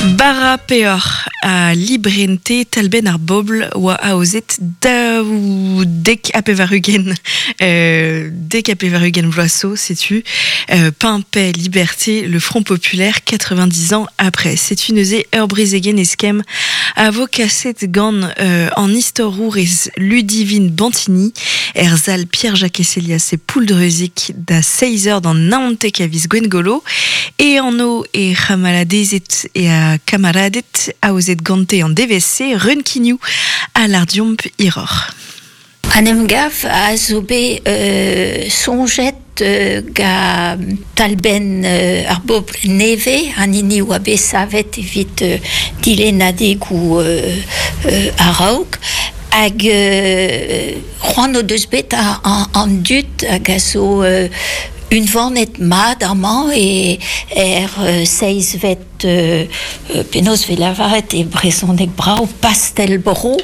Bara peoc'h ha librente talbenn ar bobl oa aozet daou dek ha pevar-ugent dek ha pevar-ugent vloaz zo, setu Pain, paix, liberté, le Front populaire 90 ans après. Setu neuze ur brezegenn eskemm a vo kaset gant an istorourez Ludivine Bantini er sal Pierre-Jacques Célias e Pouldreuzic da seizh eur d'an naontek a viz Gwengolo. E anv e c'hamaladezed e a kamaraded aozet gante an devezh-se, Reun Quiniou ha Lardiomp hiroc'h. An emgav a zo bet soñjet gant talbenn ar bobl nevez, an hini oa bet savet evit dilennadegoù a-raok, hag c'hoant o deus bet an dud hag a zo unvanet mat amañ e er seizhvet penaos 'vez lavaret e brezhoneg brav pastell-bro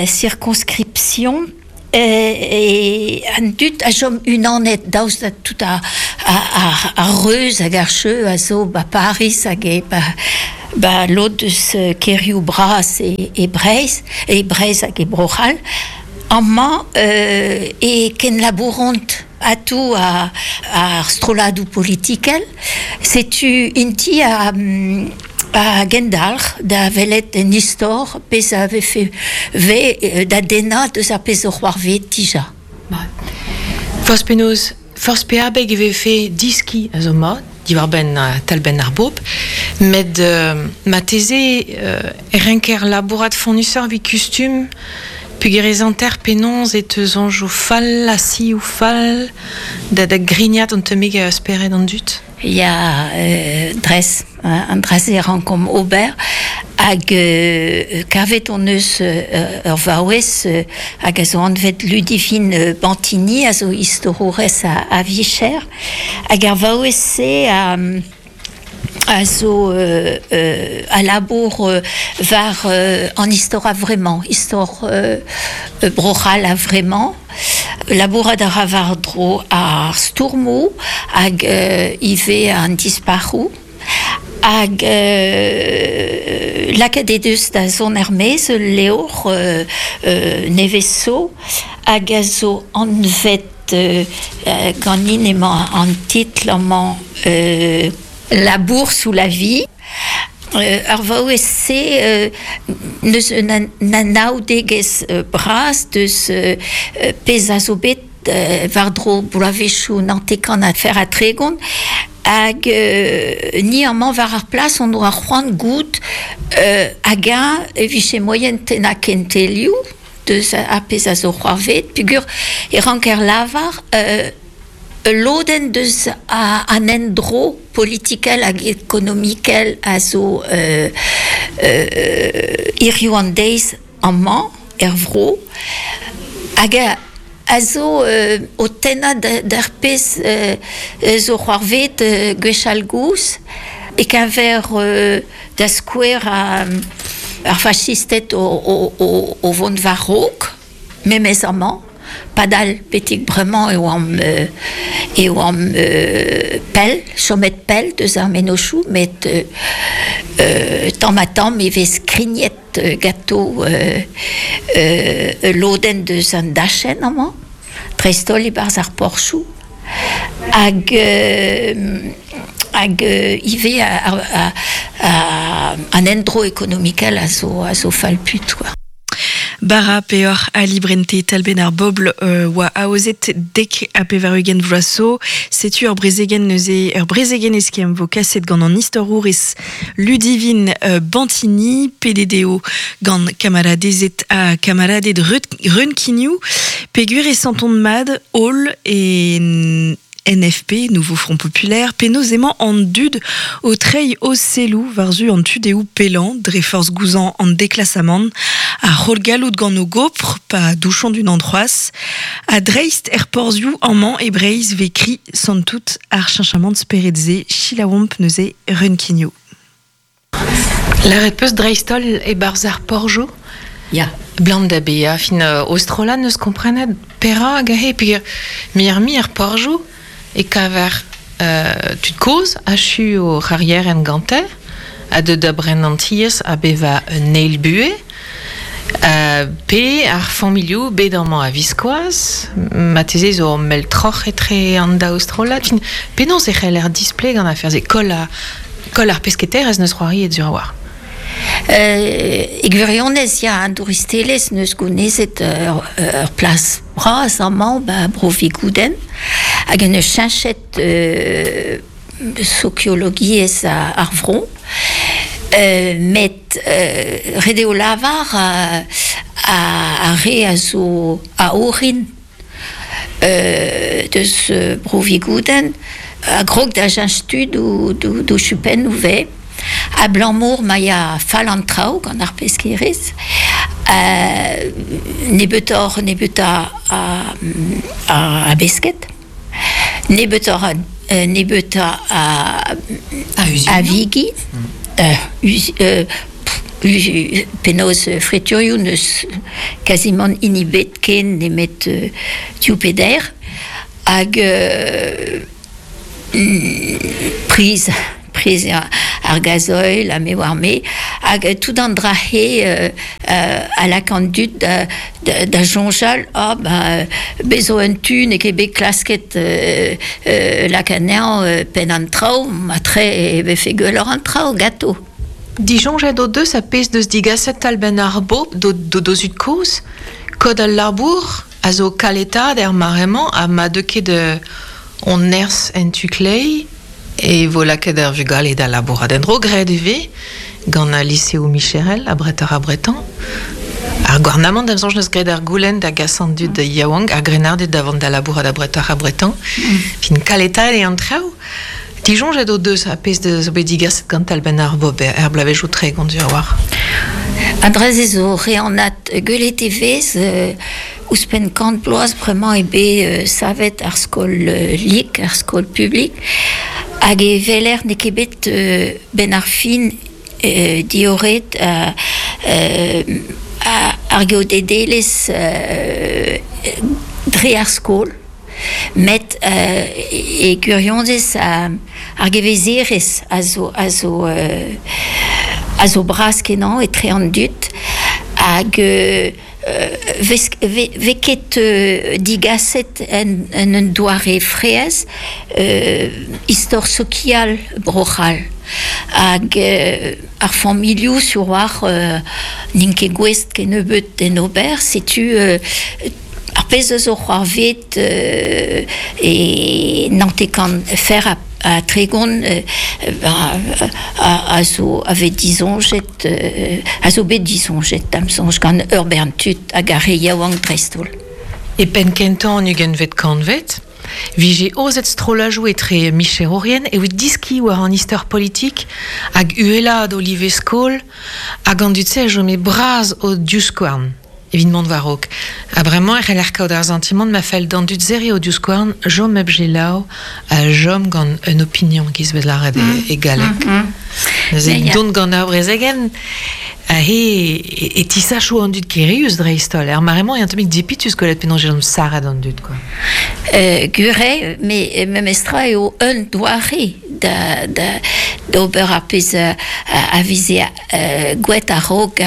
circonscription e an dud a chom unanet daoust da tout ar reuz hag ar cheu a zo 'ba Pariz hag e 'ba lod eus kêrioù bras e Breizh e Breizh hag e Bro-C'hall. Amañ e kenlabouront atav ar strolladoù politikel. Setu int-i a a gendalc'h da welet en istor pezh a vefe ve da dennañ deus ar pezh zo c'hoarvezet dija. Forzh penaos, forzh pe abeg e vefe diskiñ a zo mat diwar-benn talbenn ar bobl, met marteze e renker labourat fonnusoc'h evit kustum peogwir ez hanter penaos e teu soñjoù fall ha sioù fall da grignat an tammig spered an dud. Ya, dres, an dra-se a rankomp ober hag kavet hon eus ur vaouez hag a zo anvet Ludivine Bantini a zo istorourez a vicher hag ar vaouez-se a a zo a labour war an istor a-vremañ, istor Bro-C'hall a-vremañ. Labourat a ra war-dro ar stourmoù hag ivez an dispac'hoù. Hag lakaet he deus da zont er-maez ul levr nevez zo hag a zo anvet ganin emañ an titl amañ La bourse ou la vie. Ar vaouez-se n'eus un anaoudegezh bras deus pezh a zo bet war-dro bloavezhioù 90 ha fer ha 30 hag ni amañ war ar plas hon doa c'hoant goût hag-eñ e vije moaien tennañ kentelioù deus ar pezh a zo c'hoarvezet peogwir e ranker lavar Ul lodenn deus an endro politikel hag ekonomikel a zo hiziv an deiz amañ er vro hag a zo o tennañ d'ar pezh zo c'hoarvezet gwechall-gozh e-keñver da skouer ar fachisted o vont war-raok memes amañ. Padal betek bremañ e oamp e oamp pell, chomet pell deus ar mennozhioù met tamm-ha-tamm e vez krignet ganto ul lodenn deus an dachenn amañ, dreist-holl e-barzh ar porzhioù. Hag hag ivez an endro ekonomikel a zo a zo fall-put kwa. Bara peoc'h ha librente talbenn ar bobl oa aozet dek ha 80 vloaz zo. Setu ur brezegenn neuze, ur brezegenn eskemm vo kaset gant an istorourez Ludivine Bantini, pedet eo gant kamaradezed ha kamaraded Reun Quiniou, peogwir e santont mat holl e NFP, Nouveau Front Populaire, penaos emañ an dud o treiñ o selloù war-zu an tu-dehoù pellañ dre forzh gouzañv an deklasamant, ar c'holl-galloud gant o gopr pa douchont unan c'hoazh. Ha dreist er porzhioù amañ e Breizh 'vez kri santout ar cheñchamant spered-se, selaouomp neuze Reun Quiniou. Lâret 'peus dreist-holl e-barzh ar porzhioù? Ya. Blam da bezañ fin o strollad 'neus komprenet perak aze peogwir muioc'h-mui er porzhioù e kaver tud kozh achu o c'harrierenn gante a deu da bren an tiez a beva un eil buhe, pe ar familhoù bet amañ a viskoazh, marteze zo ur mell troc'h etre an daou strollad. Fin, penaos e c'heller displeg an afer-se? Koll, a, koll ar pesketerezh neus c'hoariet sur a-walc'h. E gwirionez, ya, an douristelezh neus gounezet ur, ur plas bras amañ ba Bro Vigoudenn hag en deus cheñchet sokiologiezh ar vro. Met ret eo lavar ar re a zo a orin deus Bro Vigoudenn a grog da cheñch tu d'o chupennoù 'vez abalamour ma ya fall an traoù gant ar peskerezh nebeutoc'h nebeutañ a besked nebeutoc'h nebeutañ a vigi penaos friturioù n'eus kazimant hini bet ken nemet div pe deir hag priz priz ar gazoil ha me oar me hag tout an dra-se a lak an dud da soñjal ah ben bez zo un tu n'eo ket bet klasket lak anezhañ penn an traoù matre e vefe gwelloc'h an traoù ganto. Disoñjet o deus ar pezh deus digaset talbenn ar bobl d'o zud-kozh, kod al labour a zo kaletaat er mare-mañ ha ma deu ket hon nerzh en tu kleiz e vo lakaet ar vugale da labourat en-dro. Graet e vez gant al liseoù micherel abretoc'h-abretañ. Ar gouarnamant da soñj neus graet ar goulenn da gas an dud yaouank, ar grennarded da vont da labourat abretoc'h-abretañ. Fin kaletaet eo an traoù. Disoñjet o deus ar pezh zo bet digaset gant talbenn ar bob er bloavezhioù 30 sur a-walc'h. An dra-se zo re anat. Gwelet e vez ouzhpenn kant bloaz bremañ eo bet savet ar skol lik, ar skol publik, hag e weler n'eo ket bet 'benn ar fin diorret ar geodedelezh dre ar skol. Met e gwirionez ar gevezerezh a zo a zo a zo bras-kenañ etre an dud hag vez vez ket digaset en un doare fraezh istor sokial Bro-C'hall hag ar familhoù sur war n'int ket gouest kennebeut d'en ober setu Ar pezh a zo c'hoarvezet e 90 fer ha 30 a zo a vez disoñjet a zo bet disoñjet da'm soñj gant ur bern tud hag ar re yaouank dreist-holl. E penn-kentañ an ugentvet kantved 'vije aozet strollajoù etre micherourien evit diskiñ war an istor politik hag uhelaat o live skol hag an dud-se a chome bras o divskouarn. Evit mont war-raok. Ha bremañ e c'heller kaout ar santimant ma fell d'an dud serriñ o divskouarn, chom hep selaou ha chom gant un opinion giz bet lâret e galleg. Neuze dont gant ar brezegenn aze e tisacho an dud kirius dreist-holl. Er mare-mañ eo un tammig dipitus gwelet penaos e chom sarret an dud quoi. Gwir eo, met memestra eo un doare da d'ober ar pezh a veze Gouet a-raok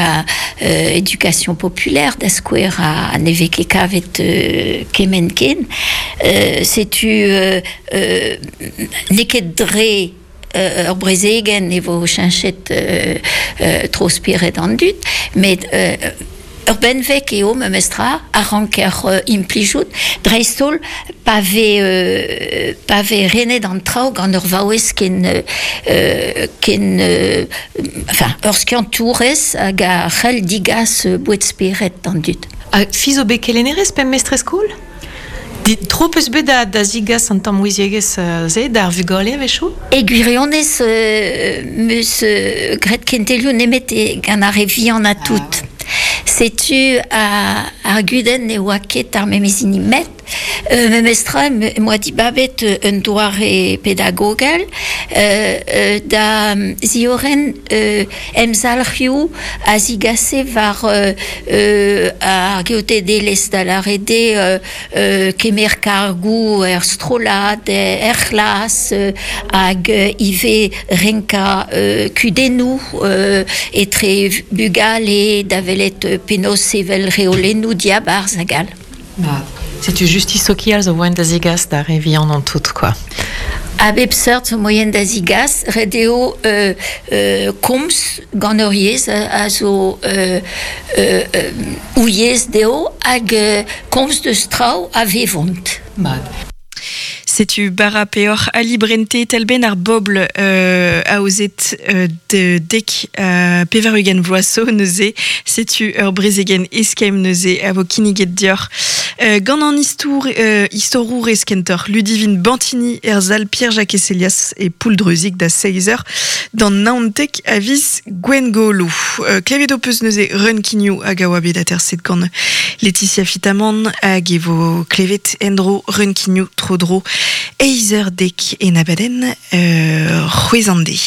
education populaire da skouer ha ne vez ket kavet kement ken. Setu n'eo ket dre ur brezegenn e vo cheñchet tro-spered an dud, met Ur benveg eo memestra a ranker implijout, dreist-holl pa vez pa vez renet an traoù gant ur vaouez ken ken enfin ur skiantourez hag a c'hell degas boued-spered d'an dud. Ha fi zo bet kelennerez pe mestrez-skol? Tro 'peus bet da zigas an tamm ouiziegezh-se d'ar vugale a-wechoù? E gwirionez 'm eus graet kentelioù nemet gant ar re vihan ha tout. Setu ar gudenn ne oa ket ar memes hini met memestra em boa dibabet un doare pedagogel da ziorren emzalc'hioù a zigase war ar geodedelezh da lâret eo kemer kargoù er strollad, er c'hlas hag ivez renkañ kudennoù etre bugale da welet penaos sevel reolennoù diabarzh hag all. Setu justis sokial zo moaien da zegas d'ar re vihan an tout, quoi. A bep seurt zo moaien da zigas. Ret eo komz gant ur yezh a zo o yezh dezho hag komz deus traoù a vevont. Mat. Setu bara peoc'h Ali Brente talbenn ar bobl aozet dek 80 vloaz zo neuze. Setu ur brezegenn eskemm neuze a vo kinniget deoc'h gant an istour, istorourez kentoc'h Ludivine Bantini er sal Pierre-Jacques Elias e Pouldreuzic da seizh eur d'an 19 a viz Gwengolo. Klevet ho peus neuze Reun Quignou hag a oa bet aterset gant Laetitia Fitamant hag e vo klevet en-dro Reun Quignou tro-dro eizh eur dek en abadenn c'hwezh an deiz.